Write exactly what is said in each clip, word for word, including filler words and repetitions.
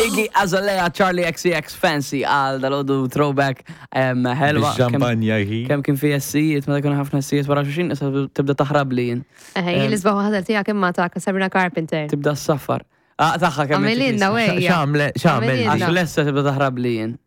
Iggy Azalea, Charli X C X, Fancy għal dalgħodu throwback em, ħelwa. Kemm- Ix-xampanja hi. Kemm kien fi essijiet, meta kienu ħafna essijiet wara xulxin, issa tibda taħrab li jien. Eħe, jien l-isbaħ waħda tiegħek imma ta' Sabrina Carpenter. Tibda s-safar. Ah, taħħa kemm Għamililna wejja. X'għamle, x'għamel. Għamililna. Għax l-essa tibda taħrab li jien.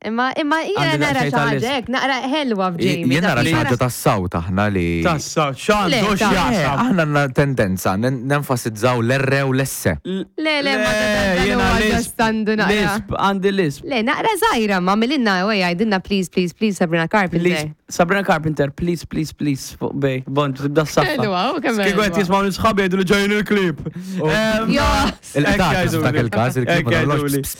Imma imma jiena Għandi nara daqsxejn xi ħaġa tal-lisp. hekk, naqra ħelwa f'Jamie. Jien nara dak xi li ħaġa tas-sawt aħna li. Tassa, x'għandu Le, ta' Eh, x'jaqsam. Aħna għandna tendenza nen- nenfasizzaw l-R u l-S. Le, le, ma dan jiena huwa lisp. just għandu naqra. Lisp, għandi lisp. Le, naqra żgħira, ma għamililna wejja, għidilna please, please, please, Sabrina Carpenter. Please, Sabrina Carpenter, please, please, please, fuq Bay. Bon, tibda s-saffa. Ħelwa, u kemm Kieku qed ħelwa. jismgħu l-sħabi jgħidu li ġejjin il-klip. Em, Jo, Il-qtates f'dak il-każ, il-klip ma nagħmlux.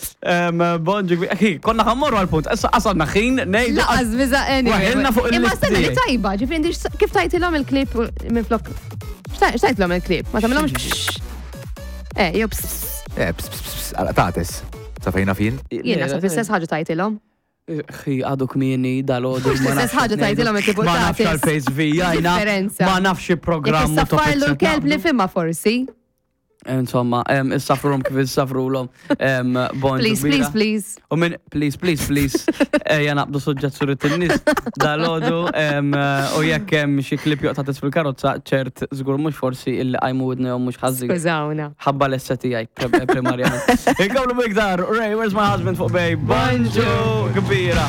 Bonġu, konna ħa mmorru għal-punt. Issa qasadna ħin, ngħidu. Laqas biza anyway. Waħilna fuq Imma il-list stenna li tiegħi. tajba, ġifieri inti x- kif tajtilhom il-klip minn flok. X'tajtilhom il-klip? Ma tagħmilhomx. Eh, jew ps. Eh, ps, ps, ps, qtates. Sa fejna fin? Jien naħseb l-istess ħaġa tajtilhom. Xi għadu kmieni dalgħodu. Mhux l-istess ħaġa tajtilhom il-klip u Ma nafx qtates. għal-face vijajna. Differenza. Ma nafx Jekk programm u issaffarlu topics l-kelb li qed fimma forsi. nagħmlu. Insomma, em, issafrulhom kif issafrulhom. Em, Bonġu Please, kbira. please, please. U minn, please, please, please, ejja naqbdu suġġett surit in-nies dalgħodu, em, u jekk hemm xi klip joqta' fil-karozza, ċert żgur mhux forsi illi qajmu widnejhom mhux ħażin. Skużawna. Ħabba l-essa tiegħi primarjament. Inkomplu biktar, Ray, Where's My Husband fuq Bay? Bonġu kbira.